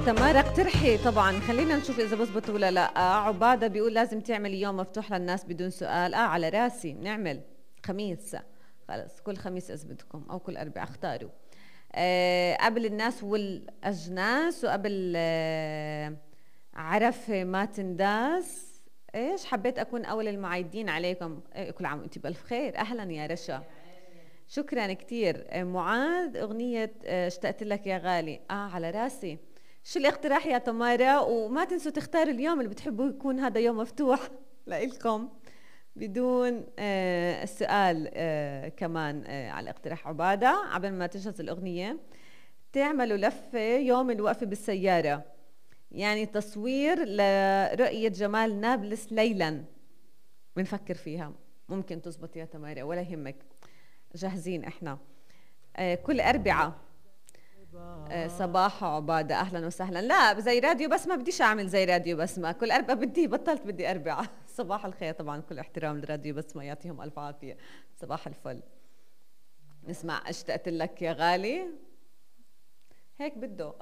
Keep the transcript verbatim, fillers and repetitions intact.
تمارا اقترحي طبعا، خلينا نشوف اذا بزبط ولا لا. عبادة بيقول لازم تعملي يوم مفتوح للناس بدون سؤال. اه على راسي، نعمل خميس، خلص كل خميس اذا بدكم او كل اربعاء اختاروا. آه قبل الناس والاجناس، وقبل آه عرفة ما تنداس. ايش حبيت اكون اول المعايدين عليكم. إيه كل عام وانتي بالف خير. اهلا يا رشا، شكرا كتير. آه معاذ اغنية آه اشتقت لك يا غالي. اه على راسي. شو الاقتراح يا تمارا؟ وما تنسوا تختاروا اليوم اللي بتحبوا يكون هذا يوم مفتوح لإلكم بدون آه السؤال. آه كمان آه على اقتراح عبادة قبل ما تجهز الأغنية تعملوا لفة يوم الوقفة بالسيارة، يعني تصوير لرؤية جمال نابلس ليلا. بنفكر فيها، ممكن تزبط يا تمارا ولا يهمك، جاهزين احنا. آه كل أربعة. آه صباح عبادة أهلا وسهلا. لا زي راديو بس ما بديش أعمل زي راديو بس ما كل أربعة بدي، بطلت بدي أربعة. صباح الخير طبعا، كل احترام للراديو بس ما يعطيهم ألف عافية. صباح الفل. نسمع اشتقت لك يا غالي، هيك بده.